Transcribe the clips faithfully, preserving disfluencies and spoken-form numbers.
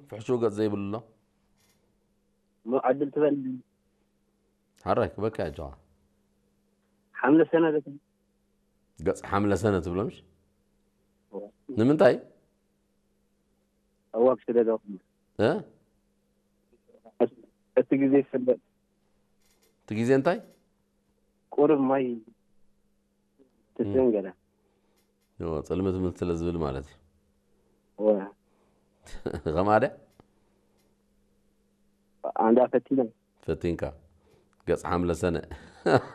ፍሕሹ ገጽ ዘይብሉ ኣሎ። እሞ ዕድል ትበል። ሐራይ ክበካ ያ ጀዋ። ሐምለ ሰነ ዘተ። ገጽ ሐምለ ሰነ ትብሎ ምሽ? እወ። ንምንታይ? እወ፣ ብስደት ወቅት። እ? እቲ ግዜ ይፍለጥ። እቲ ግዜ እንታይ? ቁሩብ ማይ ትስእን እም። ገለ። ዮ፣ ጽልምት ምልት ለዝብል ማለት እዩ። ወ። ከማደ? አንዳ ፈቲነ። ፈቲንካ። ገጽ ሐምለ ሰነ።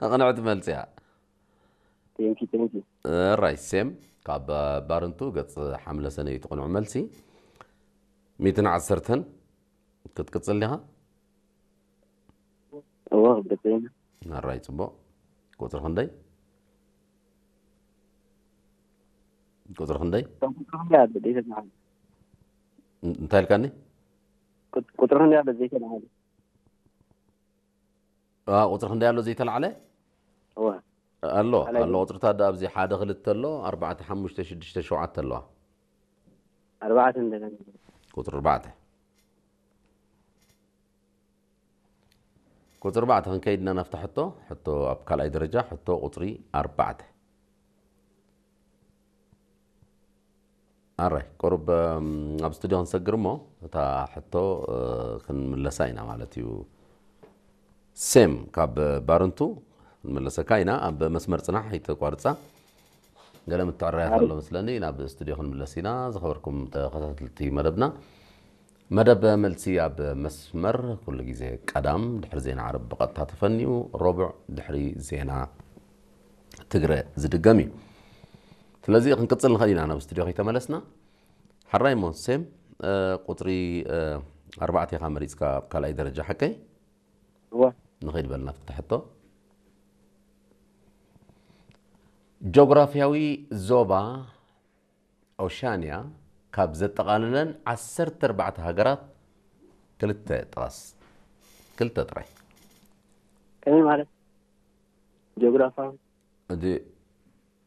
ቅንዕት መልስ እያ። ቴንኪ፣ ቴንኪ። ራይ ሴም፣ ካብ ባርንቱ ገጽ ሐምለ ሰነ እዩ እቲ ቅኑዕ መልሲ። ሚእትን ዐሰርተን ክትቅጽል ዲኻ? እወ፣ ክትቅጽል። ራይ ጽቡቕ። ቁጽሪ ክንደይ? ቁጽሪ ክንደይ? ቁጽሪ ክንደይ ኣለ? ደይተ መዓል። እን-፣ እንታይ ኢልካኒ? ቁጽ-፣ ቁጽሪ ክንደይ ኣለ? ደይተ መዓል። አ፣ ቁጽሪ ክንደይ ኣሎ ዘይተላዕለ? እወ። ኣሎ፣ ካልኣይ ኣሎ። ቁጽርታት ደኣ ኣብዚ ሓደ ክልተ ኣሎ፣ ኣርባዕተ፣ ሓሙሽተ፣ ሽዱሽተ፣ ሸውዓተ ኣለዋ። ኣርባዕተ እንደገና። ቁጽሪ ኣርባዕተ። ቁጽሪ ኣርባዕተ ክንከይድ ኢና ናብታ ሕቶ፣ ሕቶ ኣብ ካልኣይ ደረጃ፣ ሕቶ ቁጽሪ ኣርባዕተ። ኣራይ፣ ቁሩብ፣ እም፣ ኣብ ስቱድዮ ክንሰግር እሞ፣ እታ ሕቶ፣ እ፣ ክንምለሳ ኢና ማለት እዩ። ሴም፣ ካብ ባርንቱ ክንምለሰካ ኢና። ኣብ መስመር ጽናሕ፣ ኣይተቋርጻ። ገለ ምትዕርራያት ኣሎ መስለኒ፣ ናብ ስቱድዮ ክንምለስ ኢና። ዝኸበርኩም ተኸታተልቲ መደብና፣ መደብ መልሲ ኣብ መስመር ኩሉ ግዜ ቀዳም ድሕሪ ዜና ዓረብ ብቐጥታ ተፈንዩ፣ ረቡዕ ድሕሪ ዜና ትግረ ዝድገም እዩ። ስለዚ ክንቅጽል ንኽእል ኢና ናብ ስቱድዮ ከይተመለስና። ሓራይ እሞ ሴም፣ እ፣ ቁጽሪ፣ እ፣ ኣርባዕተ ኢኻ መሪጽካ ኣብ ካልኣይ ደረጃ ሓቀይ? እወ። ንኸይድ በልና ፍትሕ ሕቶ። ጆግራፍያዊ ዞባ ኦሻንያ ካብ ዘጠቓልለን ዓሰርተ ኣርባዕተ ሃገራት ክልተ ጥቐስ። ክልተ ጥራይ። ከመይ ማለት? ጂኦግራፋዊ? እቲ፣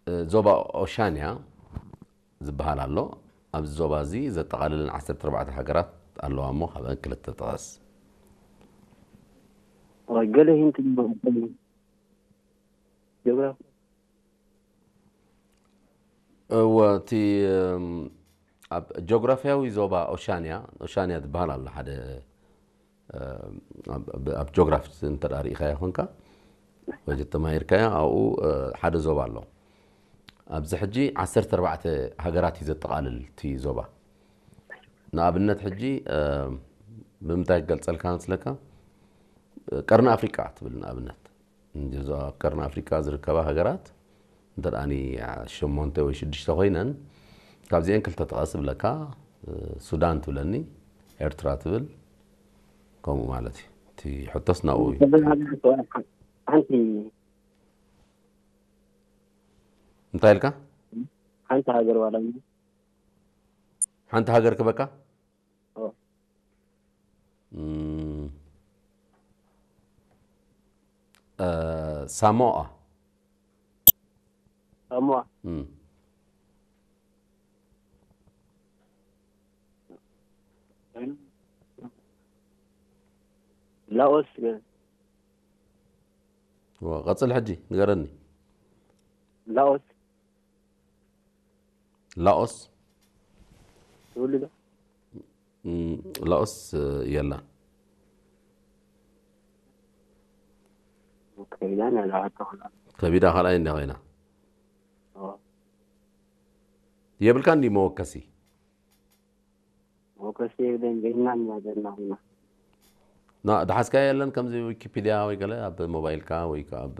እ፣ ዞባ ኦሻንያ ዝበሃል ኣሎ። ኣብዚ ዞባ እዚ ዘጠቓልለን ዓሰርተ ኣርባዕተ ሃገራት ኣለዋ እሞ፣ ካብአን ክልተ ጥቐስ። ኦይ፣ ገለ ሂንት ጂኦግራፊ። እወ፣ እቲ፣ እም፣ ኣብ ጂኦግራፍያዊ ዞባ ኦሻንያ፣ ኦሻንያ ዝበሃል ኣሎ ሓደ፣ እም፣ ኣብ፣ ኣብ፣ ኣብ ጂኦግራፊ እንተ ደኣ ርኢኻዮ ኾንካ፣ ወይ ተማሂርካዮ፣ ኣብኡ፣ እ፣ ሓደ ዞባ ኣሎ። ኣብዚ ሕጂ ዓሰርተ ኣርባዕተ ሃገራት እዩ ዘጠቓልል እቲ ዞባ። ንኣብነት ሕጂ፣ እ፣ ብምንታይ ክገልጸልካ መስለካ? ቀርኒ ኣፍሪቃ ትብል ንኣብነት። እንዲ እዞ ኣብ ቀርኒ ኣፍሪቃ ዝርከባ ሃገራት እንተ ደኣኒ ሸሞንተ ወይ ሽዱሽተ ኮይነን፣ ካብዚአን ክልተ ጥቀስ እብለካ፣ ሱዳን ትብለኒ፣ ኤርትራ ትብል፣ ከምኡ ማለት እዩ። እቲ ሕቶስ ናብኡ እዩ። ሓንቲ እንታይ ኢልካ? ሓንቲ ሃገር ዋላ ሓንቲ ሃገር ክበካ? ኦ። እም፣ እ፣ ሳሞኣ። ሳሞኣ። እም። ላኦስ። ወ-፣ ቀጽል ሕጂ ንገረኒ። ላኦስ። ላኦስ ትውልዶ? እም፣ ላኦስ፣ እ፣ የላን። ከቢዳ ናይ ላኦስ ተኾና። ከቢዳ ካልኣይ እንደ ኮይና። ኦ። የብልካ እንዲ መወከሲ? መወከሲ የብለይን፣ በይንና እናገርና ኹና። ና፣ ደሓስካዮ የለን ከምዚ ዊኪፒድያ ወይ ገለ ኣብ ሞባይልካ ወይ ከኣ ኣብ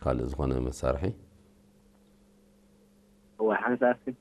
ካልእ ዝኾነ መሳርሒ? እወ፣ ሓንሳብ እስኪ።